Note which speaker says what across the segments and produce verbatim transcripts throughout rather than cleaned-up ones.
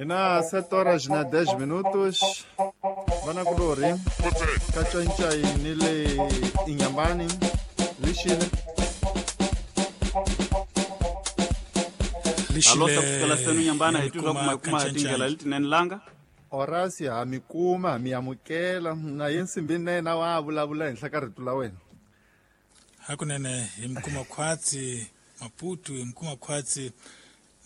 Speaker 1: Ina sete horas na dez minutos. Vanakulori kacancai ni le Inhambane lixile.
Speaker 2: Alosa kusukela senu Inhambane hi twa kuma kuma tindlela letinene langa.
Speaker 1: Horace ha mi kuma mi amukela na ye nsimbini na yena wa vulavula henhla ka rito la wena.
Speaker 3: Hakunene hi mi kuma khwatsi Maputo, hi mi kuma khwatsi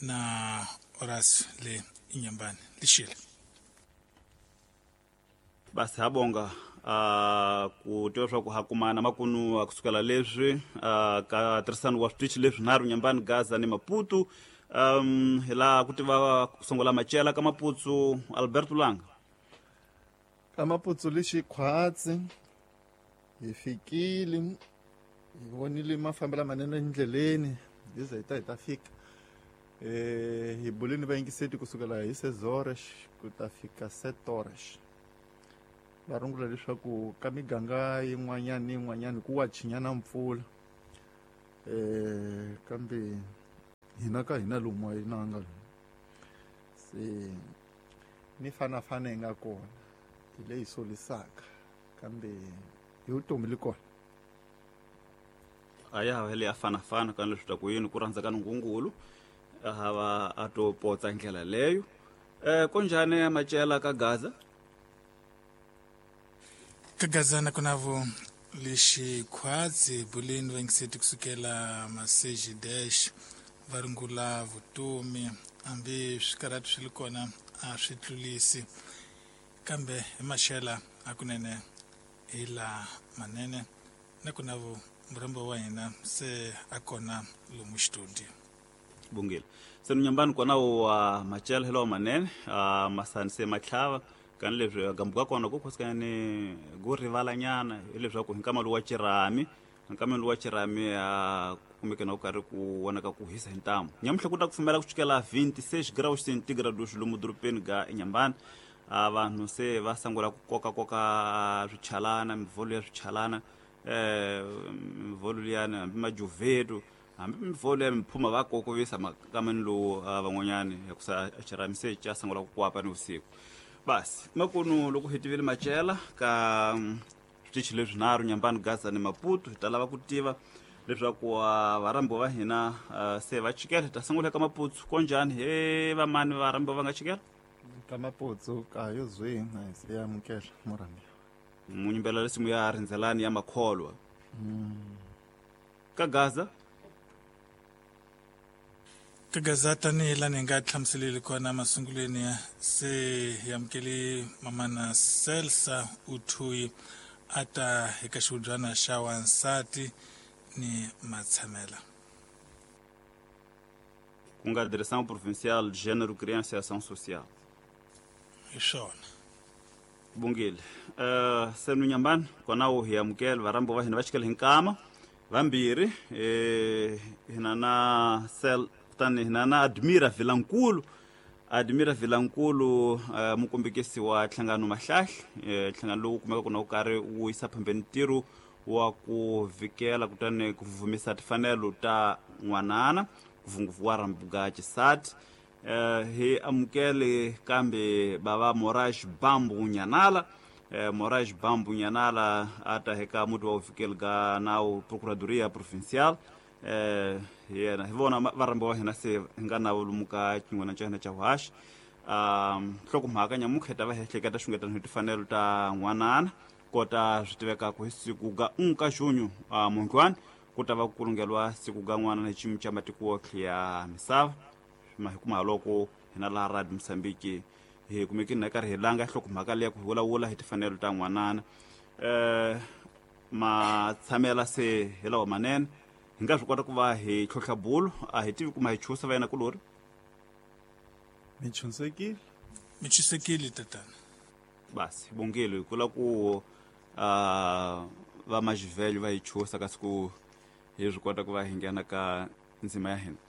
Speaker 3: na Horace le Inhambane lixile.
Speaker 2: Basi habonga uh, ku tiva swa ku ha kumana makunu kusukela leswi uh, ka tirhisano wa switichi leswi nharhu Inhambane, Gaza ni Maputo. Um, hi laha ku tiva ku sungula macela ka Maputo Alberto Langa.
Speaker 1: Ka Maputo lexi khwatsi hi fikile hi vonile mafambelo manene endleleni hi za hi ta hi ta fika. Eh, hi bulini vayingiseti kusukela hi seis horas ku ta fika sete horas. Va rungula leswaku ka miganga yin'wanyana ni yin'wanyana ku wa chinyana mpfula. Eh, kambe hina ka hina lomu a yi nanga lomu. Se ni fanafana yi nga kona hi leyi solisaka kambe hi vutomi li kona.
Speaker 2: A ya ha le ya fanafana ka leswi ta ku yini ku rhandza ka Nungungulu a hava a to potsa ndlela leyo. Eh, konjhani macela ka Gaza?
Speaker 3: Ka Gaza na kunavo lexi khwatsi buleni vayingiseti kusukela maseji dash va rungula vutomi hambi swikarhati swi li kona a swi tlulisi kambe hi maxela hakunene hi la manene na kunavo murhambo wa hina se a kona lomu xitudio.
Speaker 2: Bungile se Inhambane kona wa macela hi lawa manene a masani se matlhava kani leswi gambu ka kona ku khosikana ni ku rivalanyana hileswaku hi nkama lowu wa xirhami nkama lowu wa xirhami a kumeke na ku karhi ku vonaka ku hisa hi ntamu. Nyamuhla ku ta kufumela ku sukela vinte e seis graus centígrados lomu dorobeni ga Inhambane. A vanhu se va sungula ku kokakoka swichalana mivholo ya swichalana eh mivholo liyani hambi majuveto hambi mivholo ya miphuma va kokovisa makameni lowu van'wanyani hikusa xirhami se xa sungula ku kwapa ni vusiku. Basi makunu loko hi tivile macela ka switichi leswi nharhu Inhambane, Gaza ni Maputo, hi ta lava ku tiva leswaku varhambiwa va hina se va chikela. Hi ta sungula ka Maputo konjhani he vamani varhambiwa va nga chikela?
Speaker 1: Ka Maputo ka yo zwi na se ya amukela murhambiwa.
Speaker 2: Munyimbela lesimu ya rindzelani ya makholwa. Ka Gaza?
Speaker 3: Ka Gaza tanihi laha ni nga hlamuseleli kona masungulweni se hi amukele mamana Celsa Uthuyi a ta eka xihubyana xa wansati ni matshamela.
Speaker 2: Ku nga Direção Provincial de Gênero, Criança e Ação Social.
Speaker 3: Hi swona.
Speaker 2: Bungile. Uh, senu Inhambane kona wu hi amukela varhambiwa va hina va chikela hi nkama vambirhi eh hina na Sel kutani hina na Admira Vilankulu. Admira Vilankulu uh, mukombekisi wa Nhlangano Mahlahla, eh nhlangano lowu kumeka kuna wu karhi wu yisa phambeni ntirho wa ku vikela kutani ku vumisa timfanelo ta n'wanana ngopfungopfu wa rhambuka xisati. Eh hi amukele kambe bava Moraes Bambu Nyanala. Eh Moraes Bambu Nyanala a ta eka muti wa ufikeli ka nawu Procuradoria Provincial. Eh yena hi vona varhambiwa va hina se hi nga na lomu ka xin'wana xa hina xa vuhaxi. Um nhlokomhaka nyamuntlha hi ta va hi ehleketa xungetano hi timfanelo ta n'wanana kota swi tivekaka hi siku ga un ka junho uh, mundlwani ku ta va ku kulungeliwa siku ga n'wanana hi xiyimo xa matiko yotlhe ya misava. Ma hi kuma loko hina laha Radio Mozambique hi kumekini na karhi hi langa nhlokomhaka leya ku vulavula hi timfanelo ta n'wanana. Eh matshamela se hi lawa manene hi nga swi kota ku va hi tlhontlha bulo a hi tivi kuma hi chusa va yena kulori.
Speaker 1: Mi chunsekile?
Speaker 3: Mi chusekile tatana.
Speaker 2: Basi bongile hi kula ku uh, va majivelho va hi chusa kasi ku hi swi kota ku va hi nghena ka ndzima ya hina.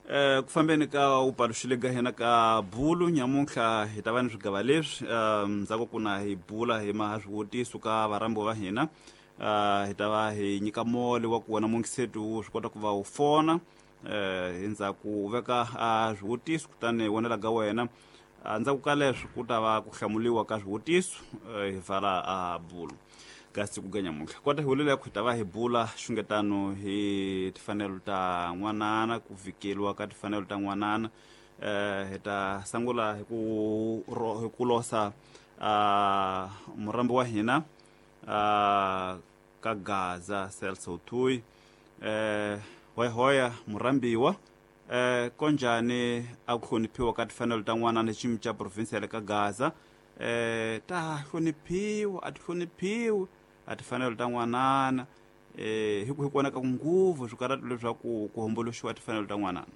Speaker 2: Eh ku fambeni ka upaluxile ga hina ka bulu nyamuntlha hi ta va ni swigava leswi ndzhaku ku na hi bula hi ma swivutiso ka varhambiwa va hina. Uh, hi ta va hi nyika mole wa ku wena mungisetu wu swi kota ku va u fona eh endzhaku u veka a swivutiso kutani vonela ka wena endzhaku ka leswo ku ta va ku hlamuliwa ka swivutiso hi vala a bulu ka siku ga nyamuntlha kota hi vulele ku hi ta va hi bula xungetano hi timfanelo ta n'wanana ku vhikeliwa ka timfanelo ta n'wanana eh hi ta sungula hi ku hi ku losa a murambi wa hina a ka Gaza Celso Tui eh hoya murambiwa eh konjani a ku hloniphiwa ka timfanelo ta n'wanana xiyimo xa province ya le ka Gaza eh ta hloniphiwa a ti hloniphiwi a timfanelo ta n'wanana eh hi ku hi kona ka nguvu swi karata leswaku ku homboloxiwa timfanelo ta n'wanana.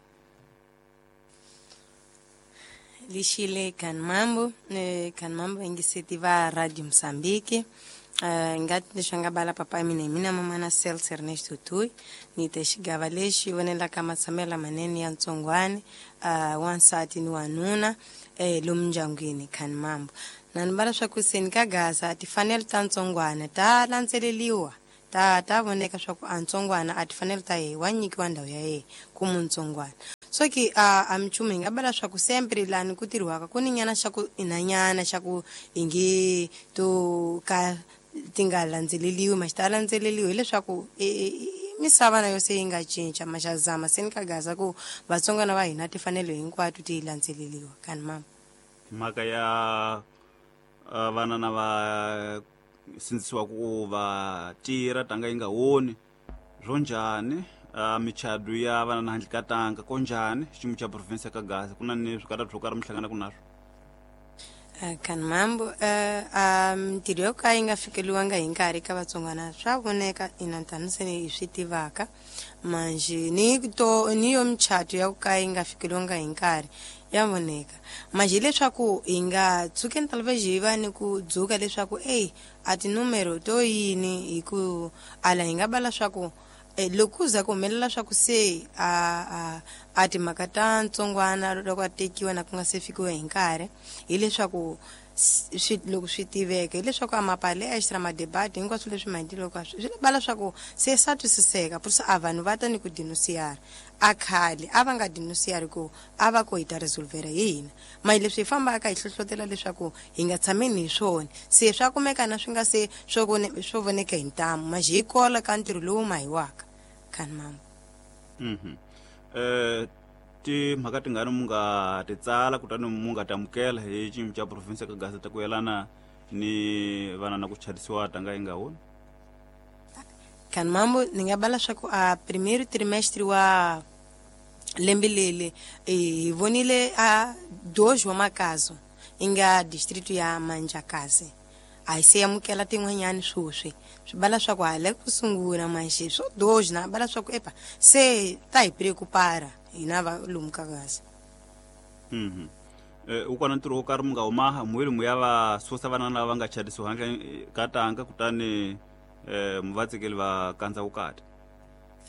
Speaker 4: Lixile kan mambo kan mambo ingiseti va Radio Mozambique uh, ngati leswi nga bala papa mina mina mama na Celso Ernesto Tui ni te xigava lexi vonela ka matshamelo manene ya ntsongwani uh, wansati ni wanuna eh lomu ndyangwini kan mambo na ni bala swa ku seni ka Gaza timfanelo ta ntsongwana ta landzeleliwa ta ta voneka swa ku a ntsongwana a timfanelo ta yehe wa nyikiwa ndhawu ya yehe ku muntsongwana so ki a a mchumu hi nga bala swa ku sempre lani ku tirhiwaka ku ni nyana xa ku inanyana xa ku ingi to ka ti nga landzeleliwi ma xi ta landzeleliwi hileswaku misava na yo se yi nga cinca ma xa zama se ni ka Gaza ku vatsongwana va hina timfanelo hinkwato ti landzeleliwa kani mama
Speaker 2: mhaka ya vana na va sindzisiwa ku va tirha tanga yi nga woni swo njhani uh, michado ya vana na handle ka tanga ko njhani xiyimo xa province ka Gaza ku na ni swikarhato swo karhi mi hlanganaka naswo?
Speaker 4: Uh, kan mambo uh, mintirho yo ka yi nga fikeliwanga hi nkarhi ka vatsongwana swa voneka ina tani se hi swi tivaka manjhe ni to ni yo michato ya ku ka yi nga fikeliwanga hi nkarhi ya voneka manjhe leswaku hi nga tshukeni talvez hi va ni ku dzuka leswaku ey a tinumero to yini hi ku ala hi nga bala swa ku loko ku za ku humelela swa ku se a a a timhaka ta ntsongwana loko a tekiwa na ku nga se fikiwa hi nkarhi hileswaku swi loko swi tiveka hileswaku a mapale extra madebate hinkwaswo leswi maendleloko swi bala swa ku se sa twisiseka purisa a vanhu va ta ni ku denunciara a khale a va nga denunciari ku a va ko hi ta resolvera hi hina mahi leswi hi fambaka hi hlohlotela leswaku hi nga tshameni hi swona se swa kumeka na swi nga se swo swo voneka hi ntamu maji hi kola ka ntirho lowu mahiwaka khani mama.
Speaker 2: Mhm eh timhaka tingani mu nga ti tsala kutani mu nga tamukela hi xiyimo xa province ka Gaza ta ku yelana ni vana na ku chadisiwa tanga yi nga woni?
Speaker 4: Kan mambo ni nga bala swa ku a primeiro trimestre wa lembe leli hi vonile a dois wa makazo yi nga distrito ya Manjakazi a hi se amukela tin'wanyani swoswi swi bala swa ku hala ku sungula manjhe swo dois na bala swa ku epa se ta hi preocupara hina va lomu ka Gaza.
Speaker 2: Mhm eh u kona ntirho wo karhi mu nga humaha muheli mu ya va susa vana lava va nga chadisiwa handle ka tanga kutani eh mu va tsikeli va kandza vukati?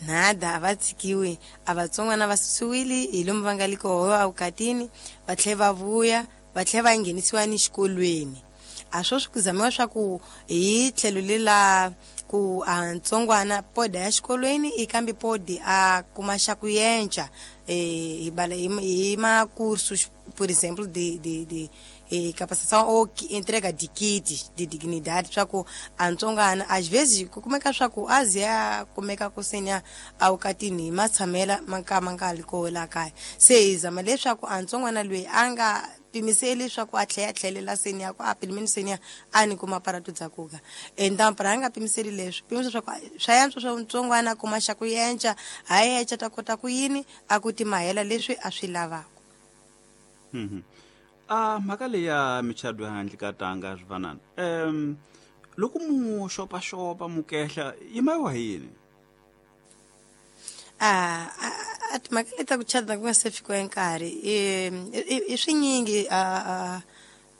Speaker 4: Nada a va tshikiwi a vatsongwana va susiwile hi lomu va nga le koho evukatini va tlhela va vuya va tlhela va nghenisiwa ni xikolweni a swo swi ku zamiwa swa ku hi tlhelo lela ku a ntsongwana poda ya xikolweni i kambe podi a kuma xa ku yenca eh hi bala hi macursos por exemplo de de de eh, capacitação ou entrega de kits de dignidade swa ku a ntsongwana às vezes ku kumeka swa ku a ze a kumeka ku senya awukatini hi matshamela ma ka ma nga li koho la kaya se hi zama leswaku a ntsongwana loyi a nga pimiseli leswaku a tlhela a tlhelela seni ya ku a pilimeni seni ya a ni kuma paratu dzakuka então para a nga pimiseli leswi pimisa swa ku swa yantswa swa ntsongwana a kuma xa ku yenca ha yenca ta kota ku yini a ku timahela leswi a swi lavaka.
Speaker 2: Mhm a mhaka leyi ya michado ya handle ka tanga swivanana um loko mu xopaxopa mu kehla yi mayiwa hi yini?
Speaker 4: A a timhaka leti ta ku chada ku nga se fikiwa nkarhi i swinyingi a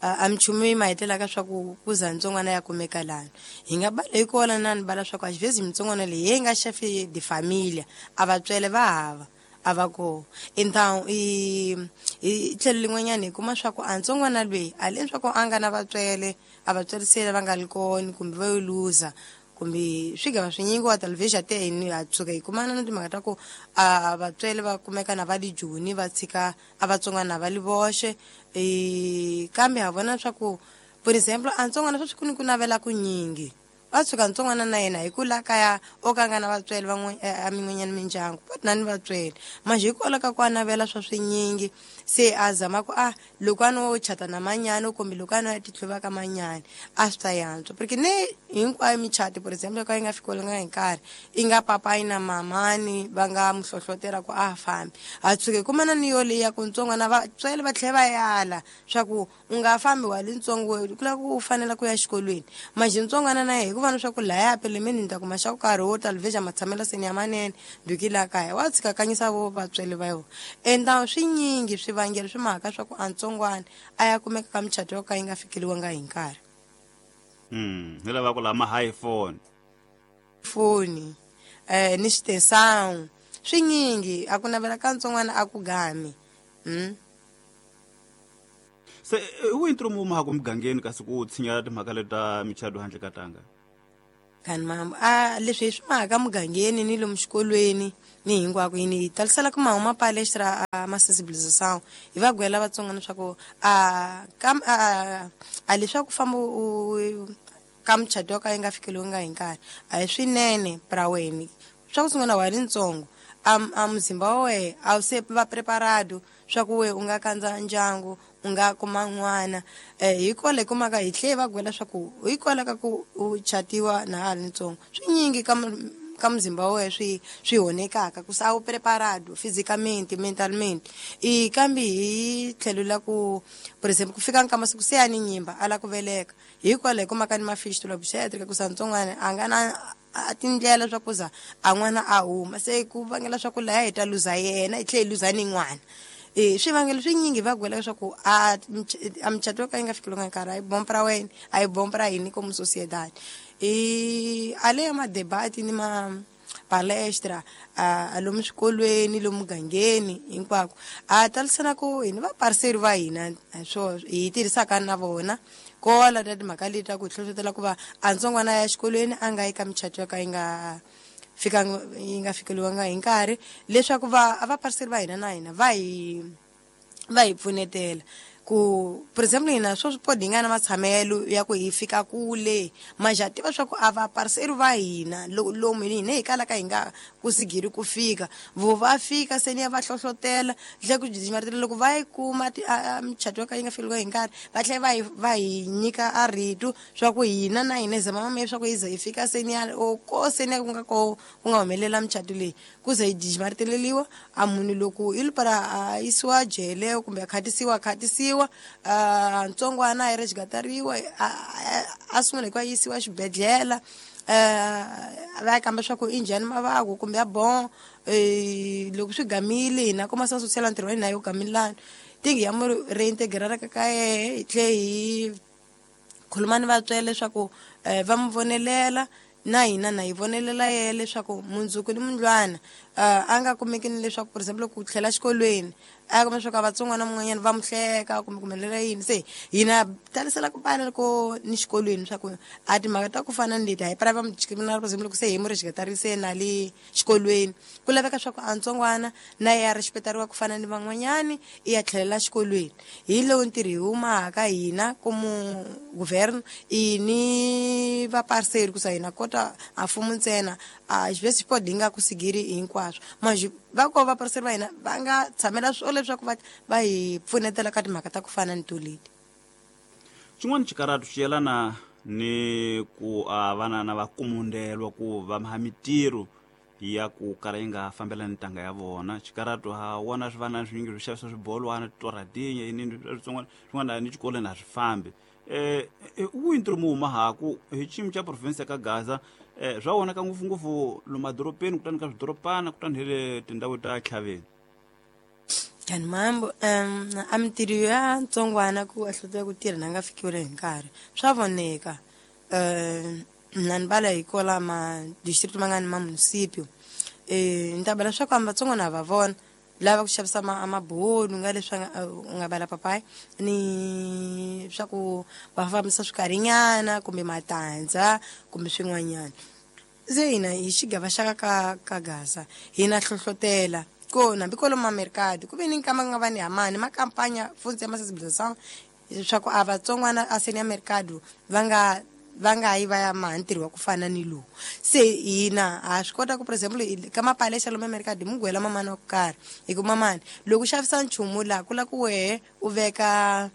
Speaker 4: a minchumu yi ma hetelaka swa ku ku za ntsongwana ya kumeka lani hi nga bala hi kona na ni bala swa ku às vezes mitsongwana leyi yi nga chefe de família a vatswele va hava a va koho então i hi tlhelo lin'wanyana hi kuma swa ku a ntsongwana loyi a leswaku a nga na vatswele a vatswele se va nga li kona kumbe va yo luza Kumbe swigava swinyingi wa television te ni a tsuka hi kumana na timhaka ta ku a vatswele va kumeka na va le Joni va tshika a vatsongwana va li voxe. E kambe ha vona swa ku for example a ntsongwana sweswi ku ni ku navela ku nyingi va tshuka ntsongwana na yena hi ku la kaya o ka nga na vatswele van'we a min'wanyana mindyangu va na ni vatswele manje hikwalaho ka ku a navela swa swinyingi se a zama ku a loko a no chata na manyana kumbe loko a no ya titlhuva ka manyana a swi ta yantswa porque ne hinkwayo michato for example ka yi nga fikelelanga hi nkarhi i nga papayi na mamani va nga mu hlohlotela ku a fambi a tshuke kumana ni yo leyi ya ku ntsongwana vatswele va tlhela va yala swa ku u nga fambi wa le ntsongo ku lava ku u fanela ku ya xikolweni manje ntsongwana na yehe hikuva swa ku laya pelemeni ni ta kuma xa ku karhi wo television matshamelo seni ya manene duki la kaya wa tshika kanyisa vo vatswele va yona enda swinyingi swivangelo swi mhaka swa ku a ntsongwana a ya kumeka ka michato yo ka yi nga fikeliwanga hi nkarhi.
Speaker 2: Mm hi lava ku lama high phone
Speaker 4: foni eh ni xitesang swinyingi a ku navela ka ntsongwana a ku gami. Mm
Speaker 2: se wu intro mu ma ku mugangeni kasi ku tshinya timhaka leta michato handle ka tanga
Speaker 4: kan mam a leswi swi mhaka mugangeni ni lomu xikolweni ni hinkwako yini talisela ku mahuma palestra a ma sensibilisation hi va gwela vatsonga leswaku a kam a a leswaku famba u ka michato yo ka yi nga fikeliwanga hi nkarhi a hi swinene pra wena swa ku sungula wa ri ntsongo a a muzimba wa wehe a wu se va preparado swa ku we u nga kandza ndyangu u nga kuma n'wana eh hi kole kumaka hi tlhe va gwela swa ku hi kola ka ku u chatiwa na ha ri ntsongo swinyingi ka ka muzimba wa wehe swi swi honekaka ku sa wu preparado physically mentalmente i kambe hi tlhelo la ku for example ku fika nka masiku se ya ni nyimba ala ku veleka hi kwala hi kumaka ni mafistula obstetric ku sa ntsongwana a nga na a tindlela swa ku za a n'wana a huma se ku vangela swa ku laya hi ta luza yena hi tlhe hi luza ni n'wana. E swivangelo swinyingi va gwela leswaku a a michato yo ka yi nga fikelelanga nkarhi a yi bompa ra wena a yi bompa ra hini como sociedade e a le ya madebati ni ma palestra a lomu swikolweni lomu mugangeni hinkwako a talisana ku hini vapariseri va hina swo hi tirhisaka na vona kola ta timhaka leti ta ku hi hlohlotela ku va a ntsongwana ya xikolweni a nga yi ka michato yo ka yi nga fika yi nga fikeliwanga hi nkarhi leswaku va a vapariseri va hina na hina va hi va hi pfunetela ku for example hina swo swi podi hi nga na matshamelo ya ku hi fika kule manje ha tiva swa ku a vapariseri va hina lomu hina hi kalaka hi nga kusigiri ku fika vo va fika se ni ya va hlohlotela tlhe ku jijimaritela loko va yi kuma michato yo ka yi nga fikeliwa hi nkarhi va tlhela va hi va hi nyika a rito swa ku hina na hina hi zama mame swa ku hi ze hi fika se ni ya o ko se ni ya ku nga ko ku nga humelela michato leyi ku ze hi jijimariteleliwa a munhu loko i para a yisiwa jele kumbe a khatisiwa a khatisiwa a ntsongwana a yi ri xigatariwa a sungula hi ku a yisiwa xibedhlele va ya kamba swa ku i njhani mavako kumbe ya bon loko swi gamile hina kuma sa social ntirho wa hina yo gamilana tingi ya mu reintegrara ka ka yehe hi tlhe hi khuluma ni vatswele leswaku va mu vonelela na hina na hi vonelela yehe leswaku mundzuku ni mundlwana a nga kumeki ni leswaku for example ku tlhela xikolweni a kuma leswaku a vatsongwana mun'wanyana va mu hleka kumbe ku humelela yini se hina talisela ku pala loko ni xikolweni swa ku a timhaka ta ku fana ni leti a hi pra va mu discriminara for example loko se hi mu rixiketarise na le xikolweni ku laveka swa ku a ntsongwana na ye a rexpetariwa ku fana ni van'wanyani i ya tlhelela xikolweni hi lowu ntirho hi humaka hina komu governo i ni vapariseri ku sa hina kota a mfumo ntsena a xivesi xipodi hi nga ku sigiri hinkwaswo manje va ko vapariseri va hina va nga tshamela swo leswaku va va hi pfunetela ka timhaka ta ku fana ni to leti.
Speaker 2: Xin'wana xikaratu xi yelana ni ku a vana na va kumundelwa ku va ha mitirho ya ku kala yi nga fambelani ntanga ya vona xikaratu ha wona swivana swinyingi swi xavisa swibolwana titoradinya yini swin'wana swin'wana ni xikolweni a swi fambi eh wu ntirho mu huma haku hi xiyimo xa province ya ka Gaza eh swa vonaka ngopfungopfu lomu madorobeni kutani ka swidorobana kutani hi le tindhawu ta tlhaveni.
Speaker 4: Kan mambo um a mitirho ya ntsongwana ku a hlotela ku tirha na nga fikiwile hi nkarhi swa voneka um na ni bala hi kola ma district ma nga ni ma municipio eh ni ta bala swa ku a vatsongwana va vona lava ku xavisa ma mabulu nga leswi nga nga bala papayi ni swa ku va fambisa swikarinyana kumbe matandza kumbe swin'wanyana. Se hina hi xigava xa ka ka Gaza hina hlohlotela ko hambi kwalomu mercado ku ve ni nkama nga va ni hamani ma kampanya futhi ya ma-sensibilisation leswaku a vatsongwana a seni ya mercado va nga va nga yi va ya maha ntirho wa ku fana ni lowu. Se hina ha swi kota ku for example ka mapalesa lomu mercado hi mugwela mamani wa ku karhi hi ku mamani loko u xavisa nchumu laha ku la ku wehe u veka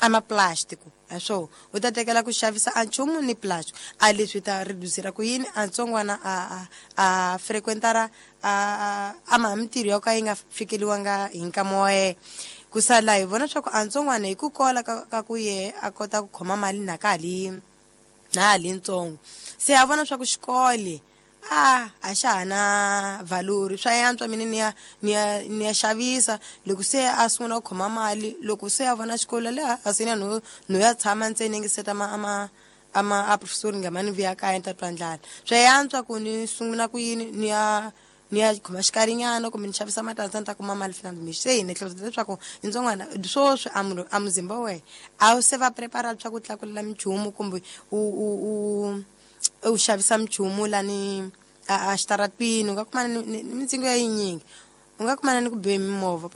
Speaker 4: a maplastiko a swo u ta tekela ku xavisa a nchumu ni plastic a leswi ta reducera ku yini a ntsongwana a a a frequentara a a maha mintirho ya ka yi nga fikeliwanga hi nkama wa yena. Ku sala hi vona swa ku a ntsongwana hi ku kola ka, ka ku ye a kota ku khoma mali na ka ha li na ha li ntsongo se a vona swa ku xikolo a a xa ha na valori swa yantswa mina ni ya ni ya ni ya xavisa. Loko se a sungula ku khoma mali loko se a vona xikolo le a se ni no no ya tshama ntsena ngi seta ma ama ama a professor nga mani vuya kaya ni ta twa ndlala swa yantswa ku ni sungula ku yini ni ya ni ya khoma xikarinyana kumbe ni xavisa matandza ni ta kuma mali fina mi se hi ni hleketa leswaku ntsongwana swoswi a munhu a muzimba wa wena a wu se va prepara swa ku tlakulela minchumu kumbe u u u u xavisa minchumu lani a xitaratini u nga kumana ni mintsengo ya yinyingi u nga kumana ni ku biwe mimovha.